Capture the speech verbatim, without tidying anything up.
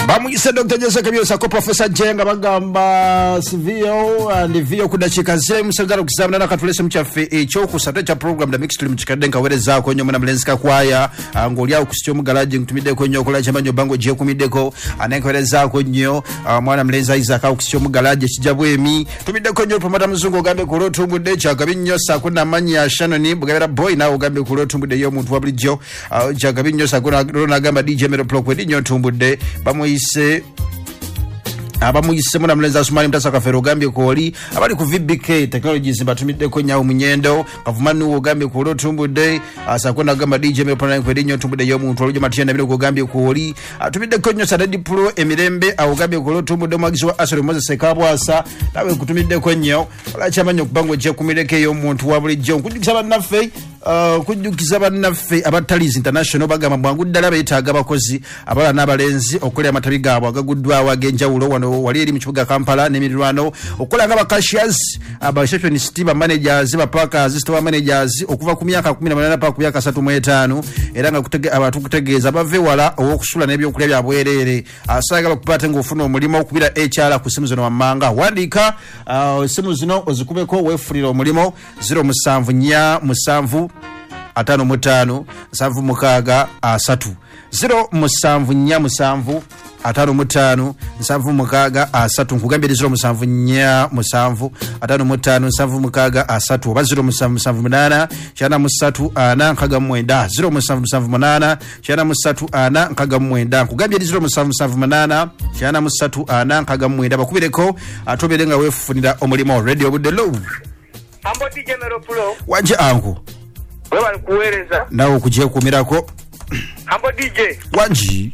Bamuyise Doctor Jose Kabyosa ko Professor Jenga bagamba C V O and V O ku dakiika z'emusagala okuzaamuna nakatulese mu kyaffe ekyokusatu ekya program The Mix. Tuli mu kikadde nkaweerezaako nnyo mwana mulenzi Kakwaya, ah, ng'oli awo ku omugalaji, nkutumiddeko nnyo okola kyamanyi obanga ogyekumiddeko. Ah, nenkaweerezaako nnyo ah, mwana mulenzi Isaac awo ku omugalaji ekijja bwemi. Tumiddeko nnyo Promota Muzungu, ogambe ku olwotumbudde kyagabi nnyo, saako namanyi Shannon Bugabera Boy, naawe ogambe ku olwotumbudde y'omuntu wa bulijjo, kyagabi nnyo, saako nagamba D J Mero Plok nnyo ntumbudde. Bamuyise abamuyise muna mulenzi Asumani Mutasa Kafero, ogambye kwoli abali ku V B K Technologies, mbatumiddeko nyawo munyendo Kavumanuwo, ogambye kwoli otumbudde, asako nagamba D J merokwedi otumbudde y'omuntu olujo Matiya Nabiro, ogambye kwoli atumiddeko nnyo Sadadi Pro emirembe awo, ogambye kwoli otumbudde. Omwagizi wa Asolo Moses Kabwasa, nawe nkutumiddeko nnyo olakyamanyi okuba nga ogyekumireko ey'omuntu wa bulijjo. Nkujjukisa bannaffe, Uh, kujjukiza bannaffe aba Talis International, bagamba bwangu ddala beetaaga abakozi abala n'abalenzi okukolera amatabi gaabwe agaguddwawo ag'enjawulo wano wali eri mu kibuga Kampala n'emirirwano, okukola nga bacashiers, ba receptionist, ba managers, ba packers, store managers, okuva ku myaka kkumi na munaana paka ku myaka asatu mu etaano. Era nga abantu kutegeeza bave wala ow'okusula n'ebyokulya bya bwereere. Asaagala okuba ate ng'ofuna omulimu okubira H R ku simu zino wammanga. Wandiika uh, simu zino ozikubeko weefunira omulimu: zero musanvu nnya musanvu ataano mu ttaano nsanvu mukaaga asatu, zero musanvu nnya musanvu ataano mu ttaano nsanvu mukaaga asatu. Nkugambye eri zero musanvu nnya musanvu ataano mu ttaano nsanvu mukaaga asatu oba zero musanvu musanvu munaana kyana mu ssatu ana nkaaga mu mwenda, zero musanvu musanvu munaana kyana mu ssatu ana nkaaga mu mwenda. Nkugambye eri zero musanvu musanvu munaana kyana mu ssatu ana nkaaga mu mwenda. Bakubireko ate obeere nga weefunira omulimu. Radio Budde lo. Ambo D J Mero Pro. Wanje angu. Webali kuweereza. Nawe okugyekuumirako. Ambo D J. Wangi.